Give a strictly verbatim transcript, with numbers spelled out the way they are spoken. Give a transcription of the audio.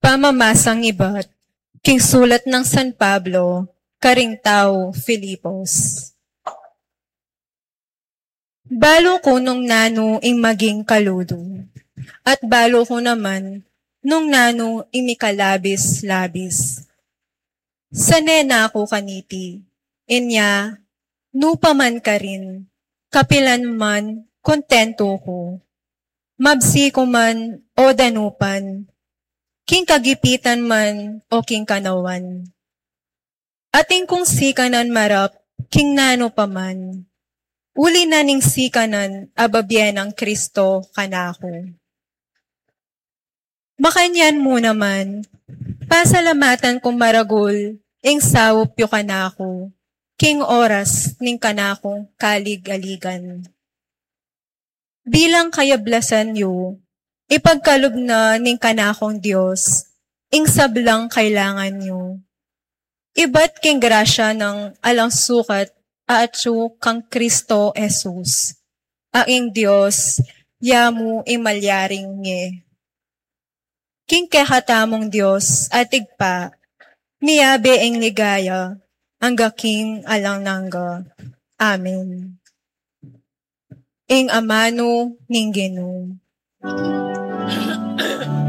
Pamamasang ibat king sulat nang San Pablo karing tau Filipos. Balu ku nung nanu ing maging kaludu, at balu ku naman nung nanu ing mikalabis-labis. Sane na ku kaniti, inya, nu pa man karin, kapilan man kontentu ku. Mabsi ku man o danupan, king kagipitan man o king kanawan. Atin kung sikanan marap king nanu pa man, uli na ning sikanan a babie nang Kristo kanaku. Makanyan mu naman, pasalamatan kung maragul ing saup yu kanaku king oras ning kanakung kalig-aligan. Bilang kayablasan yu, ipagkalub na ning kanakung Dios ing sablang kailangan yu. Ibat king grasya nang alang sukat a atyu kang Kristo Jesus, a ing Dios ya mu ing malyaring nge. King kekatamung Dios at Ibpa, miyabe ing ligaya angga king alang angga. Amen. Ing amanu ning Ginu.